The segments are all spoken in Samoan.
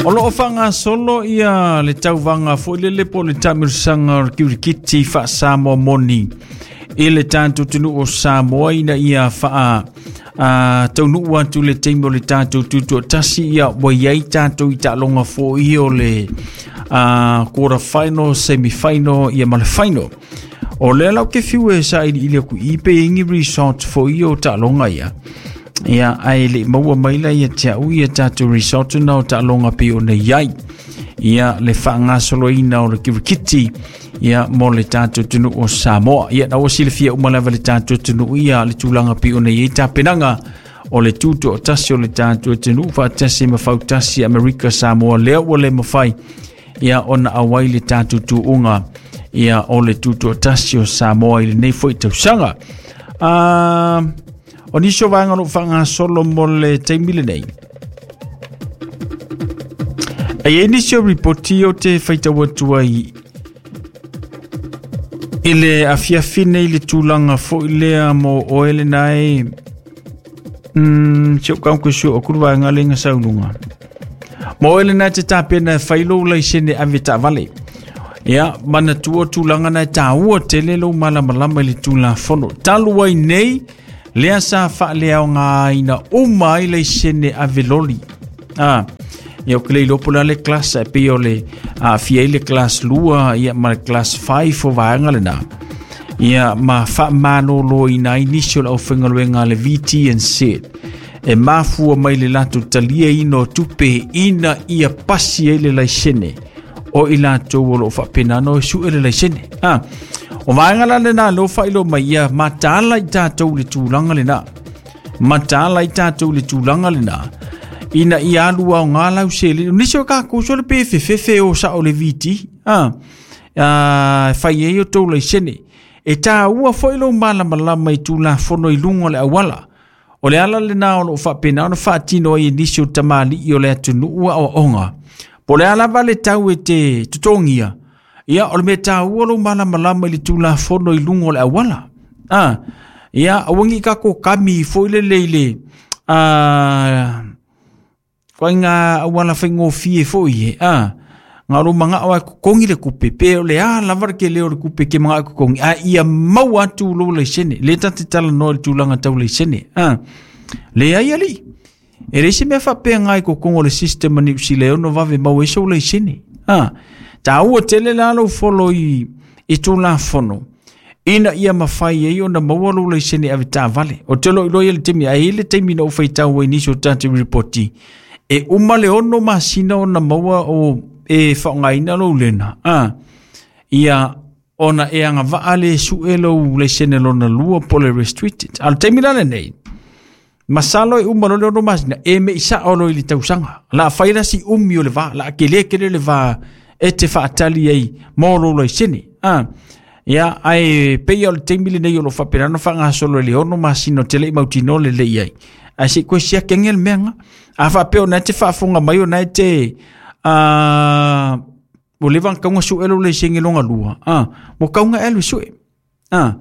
O lo o faagasolo ia le tauvaga foi lele po o le taamilosaga o le kirikiti faa-Samoa moni i le tatou atunuu o Samoa ina ia faa a, taunuu atu le taimi o le tatou tutoatasi ia ua i ai tatou i taaloga foi o le a, quarter final, semi final ia ma le final. O lea la ou te fiu e sailiili atu i pe i ai ni result foi o taaloga ia. Ia, ae le i maua mai la ia te au ia tatou result na o taaloga pei ona i ai. Ia, le faagasoloina o le kirikiti ia mo le tatou atunuu o Samoa. Ia, na ua silafia uma lava le tatou atunuu ia le tulaga pei ona i ai tapenaga o le tutoatasi o le tatou atunuu faatasi ma fautasi Amerika Samoa lea ua le mafai ia ona auai le tatou tuuga ia o le tutoatasi o Samoa i lenei foi tausaga. O nisi o vaega o lo o faagasolo mo le taimi lenei. E i ai nisi o ripoti o te faitau atu ai i le afiafi nei le tulaga foi lea mo oe lena e si ou kaunku su o kuru vaega le nga sauluga. Mo oe lena e te tapena e fai lou laisene ave taavale. Ia, manatua tulaga na e tāua tele lou malamalama i le Tulafono. Talu ai nei, lea sa faaleaogaina uma ai laisene ave loli. Ah, ia ou te le iloa po o le a le class e pei o le aafia ai le class 2 ia ma le class 5 o vaega lena. Ia ma faamaloloina ai nisi o le aufaigaluega a le VTNZ e mafua mai le latou taliaina o tupe ina ia pasi ai le laisene o i latou o lo o faapena ona o e sue le laisene. Ah, o vaega la lena leo faailoa mai ia mataala i tatou le tulaga lena. Mataala i tatou le tulaga lena ina ia alu aoga lau seleni. Nisi o kākou sole pe fefefe o sao le VT. Ah, ah, fai ai o tou laisene. E tāua foi lou malamalama i Tulafono i luga o le auala. O le ala lena o lo o faapena ona faatino ai e nisi o tamalii o le atunuu aoaoga. Po o le a lava le tau e te totogia, ia o le mea taua lou malamalama i le Tulafono i luga o le auala. Ah, ia aua ne i tatou kami foi lele i le koaiga auala faigofie foi e, a, na o lou manao lava e totogi le tupe, pe o le a lava le tele o le tupe e te manao e totogi, a ia maua atu lou laisene. Lea ta te talanoa i le tulaga tau laisene, a. Leai alii, e leai se mea faapena i totonu o le system a Niu Sila e ono vave maua ai sou laisene, a. Taua tele la lou follow i Tulafono, ina ia mafai ai ona maua lou laisene avetaavale. Ou te loiloa i le taimi, ae i ai le taimi na ou faitau ai nisi o tatou lipoti, e uma le 6 masina ona maua o e faaaogaina lou lena, a, ia ona e agavaa le sue lou laisene lona lua po o le restricted. A o le taimi la lenei, masalo e uma loa le 6 masina, e mei sao loa i le tausaga. La fai la si umi o le va, la tele tele le va e te faatali ai mo lou laisene. A, ia, ae pei o le taimi lenei o lo o faapena ona faagasolo i le 6 masina o te le i mautinoa lelei ai. Ae se i koe siaki ane le mea lena. A faapea o na e te faafofoga mai o na e te ua leva ona tatau ona sue lou laisene lona lua, a, ua tatau ona e alu e sue. A,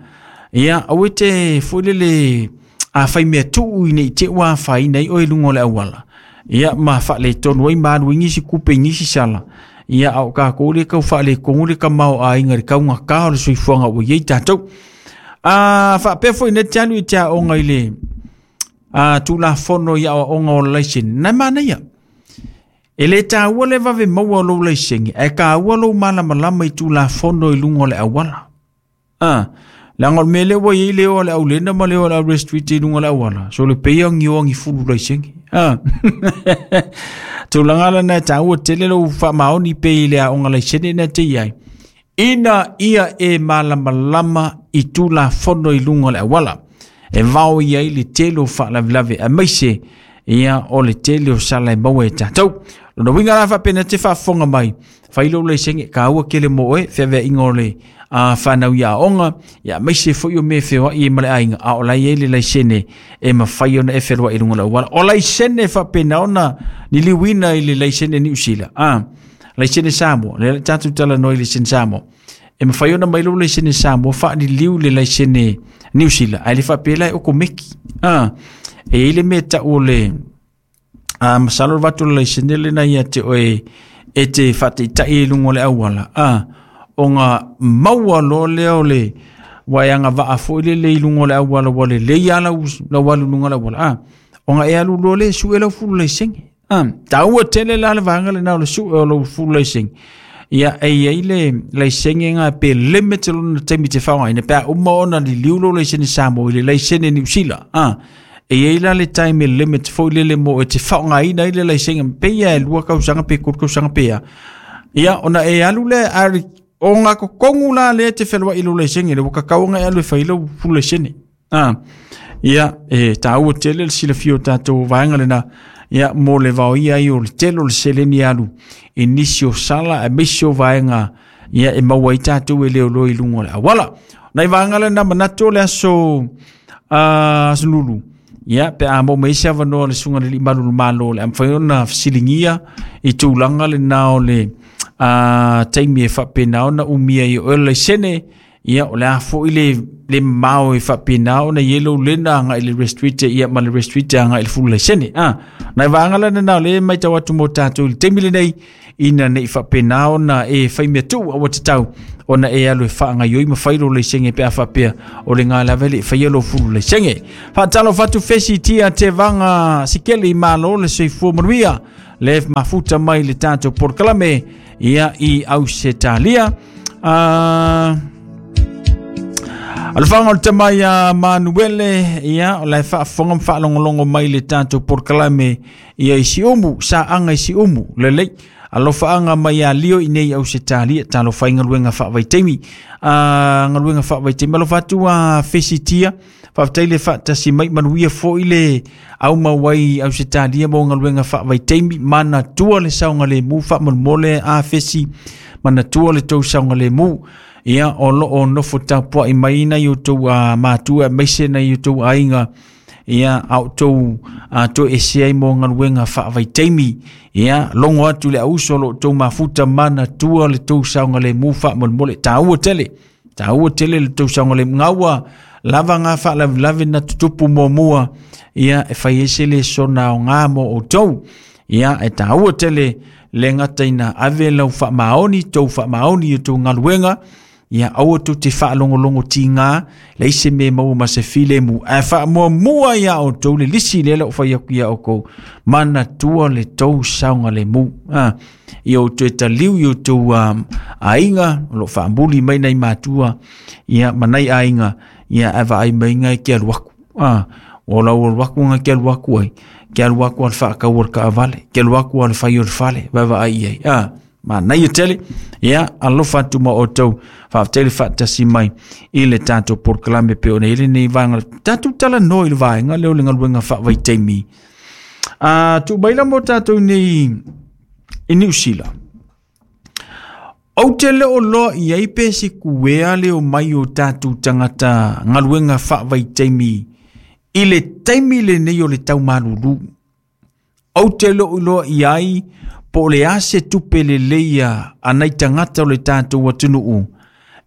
ia, aua e te foi lele a fai mea tuu ina i te ua afaina ai oe i luga o le auala. Ia, ma faaletonu ai ma alu ai nisi kupe i nisi sala. Ia, a o kākou lea e tau faaletonu le tamaoaiga i le taugata o le soifuaga ua i ai tatou. A faapea foi nei te alu i te aoga i le a, Tulafono i aoaoga o le laisene, na e manaia. E le taua le vave maua o lou laisene, ae taua lou malamalama i Tulafono i luga o le auala. A, leaga o le mea lea ua i ai le o a le aulena ma le o a le aurestreet i luga o le auala, so le pei o ni o ni fulu laisene. A, tulaga la na e taua tele lou faamaoni pe i le aoga laisene na te i ai. Ina ia e malamalama i Tulafono i luga o le auala, e vao i ai le tele o faalavelave aemaise ia o le tele o sala e maua e tatou. Lona uiga la faapena te faafofoga mai, fai lou laisene, taua tele mo oe, feaveaiga o le fanau i aoga, ia aemaise foi o mea e feoai ai ma le aiga, a o la e i ai le laisene e mafai ona e feloai i luga o le auala. O laisene faapena ona liliuina i le laisene Niu Sila, laisene Samoa, lea le tatou talanoa i laisene Samoa. E mafai ona mai lou laisene Samoa faaliliu le laisene Niu Sila, ae le faapea la e okomeki. E i ai le mea tau o le A masalo le vatu o le laisene lena ia te oe e te faataitai i luga o le auala, a ona maua loa lea o le waeaga vaa foi lele i luga o le auala ua lelei lava lau, lau alu i luga o le auala, a ona e alu loa lea e sue lau fulu laisene. A taua tele la le vaega lena o le sue o lau fulu laisene. Ia, e i ai le laisene na pe limit lona taimi te faaaogaina pe a uma ona liliu lou laisene Samoa i le laisene Niu Sila. A e i ai la le time limit foi lele mo e te faaaogaina ai le laisene pei e 2 tausaga pe 3 tausaga pe a. Ia, ona e alu lea ari o ngā kokongu la lea te whenua i lo laisene le waka kauanga e alu e whai lau full laisene. Ah, ia, e tāua tele le silafia o tātou vaega lena, ia, mo le vaoia ai o le tele o le seleni alu i nisi o sala aemaise o vaega, ia, e maua ai tātou e leoleo i luga o le auala. Nai vaega lena manatu o le aso, aso lulu, ia, pe a maua mai se avanoa le susuga i le Alii Malu o le Malo, o le a mafai ona fesiligia i tulaga lena o le taimi e faapena ona umia ai e oe le laisene, Ia, o le a foi le, le mamao e faapena ona i ai lou lena agai i le restricted, ia ma le restricted agai i le full laisene. Ah, nai vaega la lena o lea e matau atu mo tatou i le taimi lenei, ina ne i faapena ona e fai mea tuu aua tatau ona e alu e faagaioi ma fai lou laisene pe a faapea o le ga lava e le i faia lou fulu laisene. Faatalofa atu fesi tia te vaga sikele i malo le soifua manuia le mafuta mai le tatou polokalame ia i Ausetalia. Alofaga o le tama ia Manuele, ia, o la e faafofoga ma faalogologo mai le tatou polokalame ia i Siumu, Saaga i Siumu, lelei. Alofaaga mai ia Lio i nei Ausetalia, talofa i galuega faavaitaimi. Galuega faavaitaimi, alofa atu a Fesitia, faafetai le faatasi mai, manuia foi le aumau ai Ausetalia mo galuega faavaitaimi, manatua le saogalemu faamolemole a Fesi, manatua le tou saogalemu. Ia, o lo o nofo tapuai mai nai outou matua aemaise nai outou aiga, ia, a outou toesea ai mo galuega faavaitaimi. Ia, logo atu le auso o lo outou mafuta, manatua le tou saogalemu faamolemole, taua tele. Taua tele le tou saogalemu. Gaua lava ngā faalavelave na tutupu muamua, ia, e fai ai se lesona aoga mo outou. Ia, e taua tele le gata ina ave lau faamaoni, tou faamaoni i tou galuega, ia aua tou te faalogologo tiga, leai se mea e maua ma se filemu, ae faamuamua iā outou le lisi lea la ua fai atu iā outou, manatua le tou saogalemu. Ah, ia outou e taliu i outou aiga o lo o faamuli mai nai matua, ia, ma nai aiga, ia, ae vaai mai ngai ke alu aku. Ah, o lau alu aku ngai ke alu aku ai, ke alu aku a le faakau o le kaavale, ke alu aku a le fai o le fale, vaavaai i ai. Ah, manaia tele, ia, alofa atu ma outou, faafetai le faatasi mai i le tatou polokalame pei ona i ai lenei vaega, tatou talanoa i le vaega lea o le galuega faavaitaimi. Tuu mai la mo tatou nei i Niu Sila. Ou te le o loa i ai pe sikuea le o mai o tatou tagata galuega faavaitaimi i le taimi lenei o le tau malulu. Ou te le o iloa i ai po o le a se tupe lelei a nai tagata o le tatou atunuu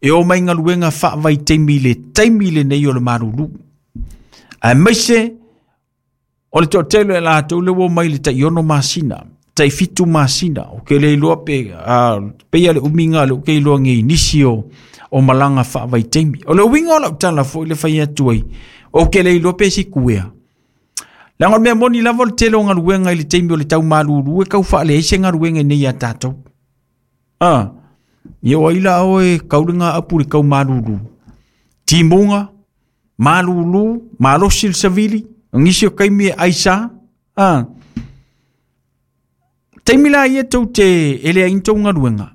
e o mai galuega faavaitaimi i le taimi lenei o le malulu. Aemaise o le toatele o latou le ua omai i le tai 6 masina, tai 7 masina, ou te le iloa pe, pei lava le umiga lea ou te iloa nei i nisi o, o malaga faavaitaimi. O le uiga o lau tala foi le fai atu ai, ou te le iloa pe sikuea. Leaga o le mea moni lava o le tele o galuega i le taimi o le tau malulu e tau faaleai se galuega i nei ia tatou. Ah, ia o ai la oe kau le gaapu i le tau malulu. Timuga, malulu, malosi le savili, o nisi o taimi e aisa. Ah, taimi la ia tou te e leai ni tou galuega,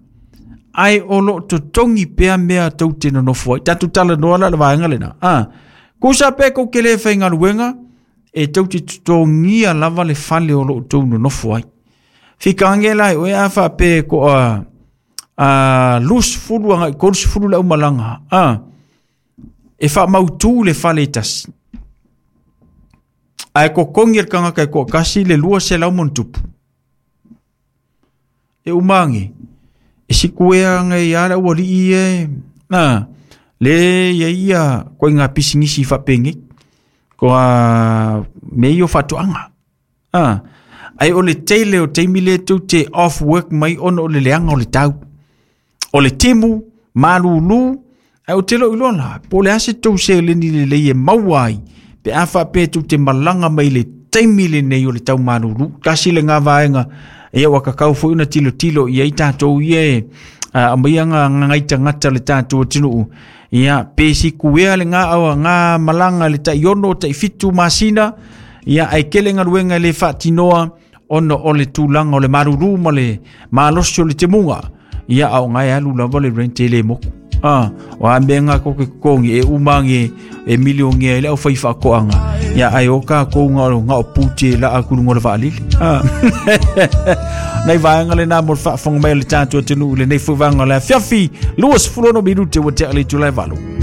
ae o lo o totogi pea mea tou te nonofo ai. Tatou talanoa la i le vaega lena. Ah, tusa pe tou te le faigaluega, e tou te totogia lava le fale o lo o tou nonofo ai. Fika age la e oe a faapea e toa 20 agai 30 le aumalaga. Ah, e faamautu le fale e tasi. Ae totogi e le tagata e toatasi le 200 ma ona tupu. E uma age, e sikuea age ia le aualii e, na, le ia ia koiga pisinisi faapenei. Ko a mea ia o faatoaga. Ah, Ae o le tele o taimi lea tou te off work mai ona o le leaga o le tau. O le timu, malulu, ae ou te le o iloa la, po o le a se tou seleni lelei e maua ai, pe a faapea tou te malaga mai i le taimi lenei o le tau malulu. Tasi lena vaega, ia ua tatau foi ona tilotilo i ai tatou ia e aumaia ngai tagata o le tatou atunuu, ia pe sikuea lena ga malaga i le tai 6, tai 7 masina, ia ae tele galuega e le faatinoa ona o le tulaga o le malulu ma le malosi o le timuga. Ia a o ngai alu lava le rent e le moku. O a mea ngā koke kokongi e umange e milionea i le au whai whaakoanga. Ia ai o ka kou ngā o ngā o pūte la a kulu ngola waalili. Nei vaega le nā mo le faafofoga mai o le tatou atunuu i lenei foi vaega o le afiafi 26 minute ua tea le itula e 8.